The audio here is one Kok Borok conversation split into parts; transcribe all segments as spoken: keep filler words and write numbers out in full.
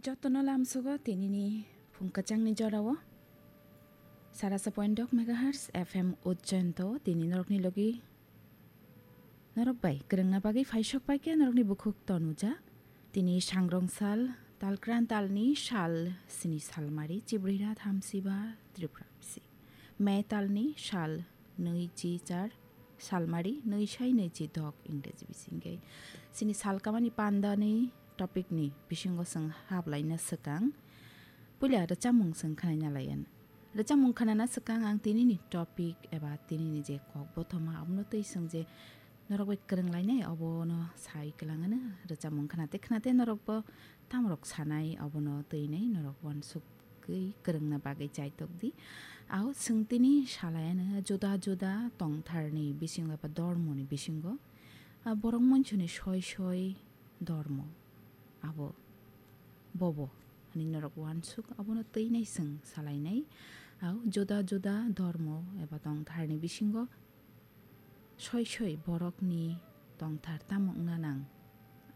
Jotono lamsogo tinini phung kwchangni jorao. Sarasa point dok megahertz F M Ujjainto tini norokni logi norok bai kwrwngna bagwi phaisok paikhe norokni bukhuk tonuja. Tini sangrong sal, talkran talni sal, sini salmari, chibrira thamsiba, Tripura bisi. May talni sal, nui chi char, salmari, nui sai nui chi dok, Ingreji bisingkhe. Sini salkamani pandani topicni bisingo chwng hablaina swkang. Puila rwchapmung chwng khwnaina laiyan. Rwchapmung khwnana swkang ang tinini topic eba tinini je kok bothoma abono twi chwng je norok bai kwrwng lainai obono sai kwlangano rwchapmung khwnate khwnate norokbo tamrok sanai obono twinai norok uansukgwi kwrwngna bagwi chaitok di. Ao chwng tini salaiano juda juda tongtharni bisingo eba dormoni bisingo, ah, borok mansuni soi soi dormo abo bobo hwnwi norok uansuk abono twinai chwng salainai. Ao juda juda dormo eba tongtharni bisingo soi soi borokni tongthar tamo wngna nang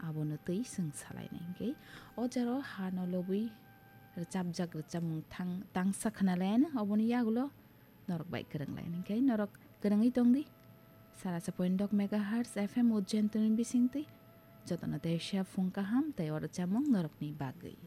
abono twi chwng salainai. Hinkhe o jaro hano lobwi rwchapjak rwchapmung thang-, tangsa khwnalaiano oboni yagulo norok bai kwrwng lai. Hinkhe norok kwrwngwi tongdi. Sarasa point dok megahertz F M Ujjainto ni bisingtwi jotono teisa phung kaham tei o rwchapmung norokni bagwi.